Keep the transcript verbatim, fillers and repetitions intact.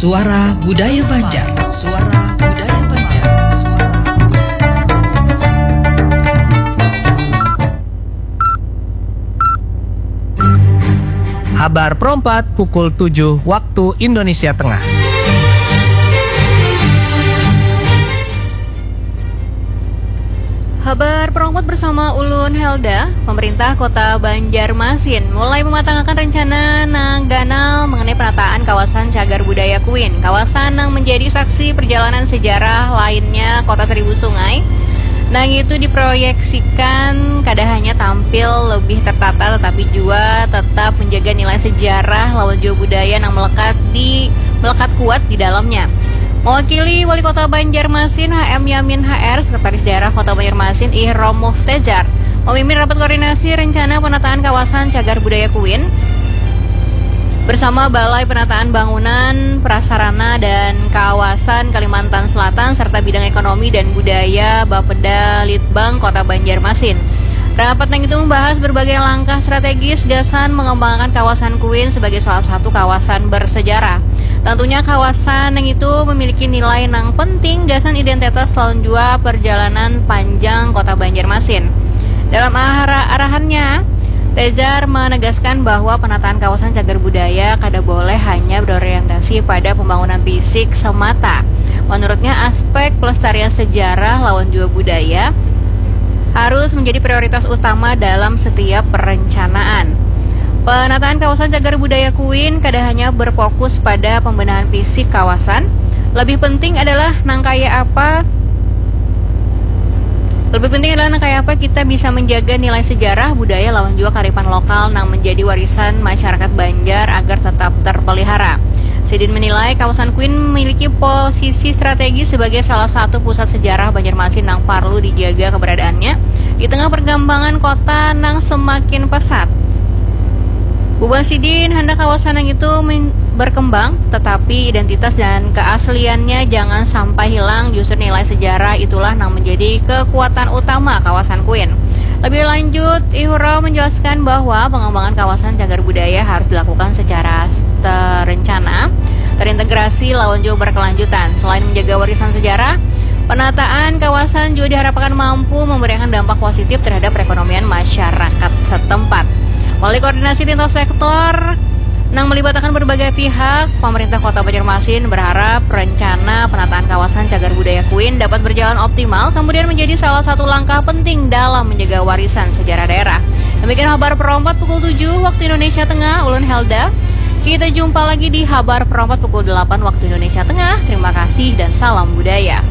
Suara Budaya Banjar. Suara Budaya Banjar. Suara Budaya Banjar. Habar perompat pukul tujuh waktu Indonesia Tengah. Habar perompat bersama ulun Helda. Pemerintah Kota Banjarmasin mulai mematangakan rencana nang ganal mengenai penataan kawasan cagar budaya Kuin, kawasan nang menjadi saksi perjalanan sejarah lainnya Kota Seribu Sungai. Nang itu diproyeksikan kada hanya tampil lebih tertata, tetapi juga tetap menjaga nilai sejarah lawan jua budaya nang melekat di melekat kuat di dalamnya. Mewakili Wali Kota Banjarmasin, H M Yamin H R, Sekretaris Daerah Kota Banjarmasin, Ihrom Muftezar, memimpin rapat koordinasi rencana penataan kawasan cagar budaya Kuin bersama Balai Penataan Bangunan, Prasarana, dan Kawasan Kalimantan Selatan serta bidang ekonomi dan budaya Bapeda Litbang Kota Banjarmasin. Rapat nang itu membahas berbagai langkah strategis gasan mengembangkan kawasan Kuin sebagai salah satu kawasan bersejarah. Tentunya kawasan nang itu memiliki nilai nang penting gasan identitas lawan jua perjalanan panjang Kota Banjarmasin. Dalam ara- arahannya, Tezar menegaskan bahwa penataan kawasan cagar budaya kada boleh hanya berorientasi pada pembangunan fisik semata. Menurutnya, aspek pelestarian sejarah lawan jua budaya harus menjadi prioritas utama dalam setiap perencanaan. Penataan kawasan cagar budaya Kuin kada hanya berfokus pada pembenahan fisik kawasan, lebih penting adalah nang kaya apa lebih penting adalah nang kaya apa kita bisa menjaga nilai sejarah, budaya, lawan jua karipan lokal nang menjadi warisan masyarakat Banjar agar tetap terpelihara. Sidin menilai kawasan Kuin memiliki posisi strategis sebagai salah satu pusat sejarah Banjarmasin nang parlu dijaga keberadaannya di tengah perkembangan kota nang semakin pesat. Bubuhan sidin handak kawasan nang itu men- berkembang, tetapi identitas dan keasliannya jangan sampai hilang. Justru nilai sejarah itulah nang menjadi kekuatan utama kawasan Kuin. Lebih lanjut, Ihrom menjelaskan bahwa pengembangan kawasan cagar budaya harus dilakukan secara terencana, terintegrasi, lawan juga berkelanjutan. Selain menjaga warisan sejarah, penataan kawasan juga diharapkan mampu memberikan dampak positif terhadap perekonomian masyarakat setempat. Melalui koordinasi lintas sektor nang melibatkan berbagai pihak, pemerintah Kota Banjarmasin berharap rencana penataan kawasan cagar budaya Kuin dapat berjalan optimal, kemudian menjadi salah satu langkah penting dalam menjaga warisan sejarah daerah. Demikian habar perompat pukul tujuh waktu Indonesia Tengah, ulun Helda. Kita jumpa lagi di habar perompat pukul delapan waktu Indonesia Tengah. Terima kasih dan salam budaya.